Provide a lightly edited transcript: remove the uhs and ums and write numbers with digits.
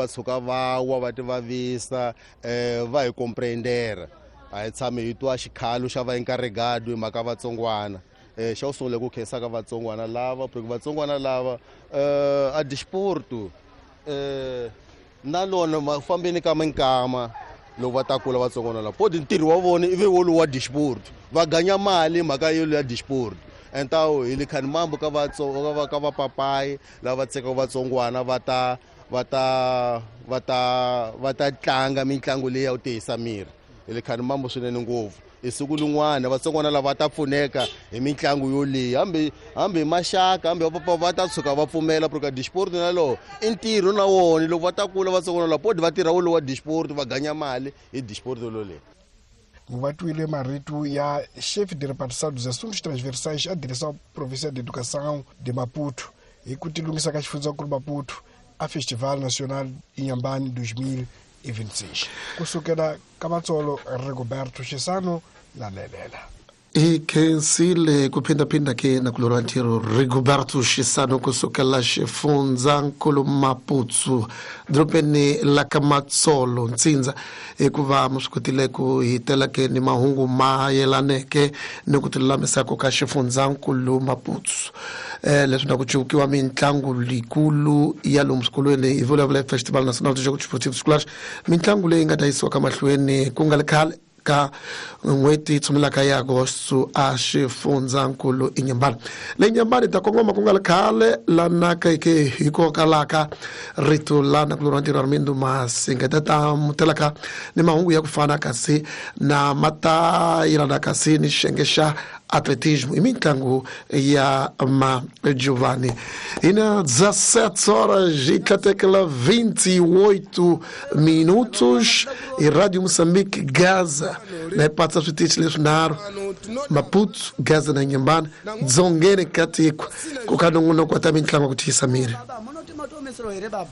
Va tshuka va wa va ti vavisa va hi comprendera. A hi tshami hi twa xikhalo xa va encarregado hi mhaka vatsongwana. Xa ku sungula ku khensa ka vatsongwana lava, porque vatsongwana lava a disporto na lona mafambeni ka minkama loko va ta kula vatsongwana lava podi ntirho wa vona ivi wolowu wa disport, va ganya mali mhaka yolo ya disport. Entawu hi le khani mambo ka ka vapapayi lava tsekaka vatsongwana va ta va ta va ta va ta tlanga mitlangu leyi ya ku tiyisa miri. Hi le khani mambo swinene ngopfu. Hi siku lin'wana vatsongwana lava ta pfuneka hi mitlangu yoleyi, hambi hi maxaka, hambi vapapa va ta tshuka va pfumela, porque disport na lowo i ntirho na wona. Loko va ta kula vatsongwana lava podi va tirha wolowo wa disport, va ganya mali hi disport loleyi. Va twile marito ya chefe de repartição dos assuntos transversais à Direção Provincial de Educação de Maputo hi ku tilunghisa ka xifundzankulu Maputo a Festival Nacional Inhambane 2026. Kusukela ka Matsolo, Rigoberto Xisano lanelela. Hi khensile ku phindaphinda ke na ku loriwa ntirho Rigoberto Xisano kusukela xifundzankulu Maputo, dorobeni la ka Matsolo ntsindza, hikuva mi swi kotile ku hi tela ke ni mahungu ma yelaneke ni ku tilulamisako ka xifundzankulu Maputo, leswi na ku cuvukiwa mitlangu leyikulu ya lomu swikolweni. Hi vulavula Festival Nacional de Jogos Desportivos Escolares, mitlangu leyi nga ta yisiwa ka mahlweni ku nga ri khale ka n'hweti tshumelaka ya agosto a xifundzankulu Inhambane. Le Inhambane ta kongoma ku nga ri khale lanaka ke hikokwalaho rito lana ku loriwa ntirho Armindo Masinga ta ta mutelaka ni mahungu ya ku fana kasi na mata yelana kasi ni xiyenge xa atletismo i mitlangu ya Magiovanni. E na 17 horas e tlatekela 28 minutos e Rádio Moçambique Gaza na ipatsa switichi leswinharhu, Maputo, Gaza na Inhambane, dzongeni ka tiko ku ka nongonoko wa ta mitlangu ya ku tiyisa miri. Munoti matoomesero here baba?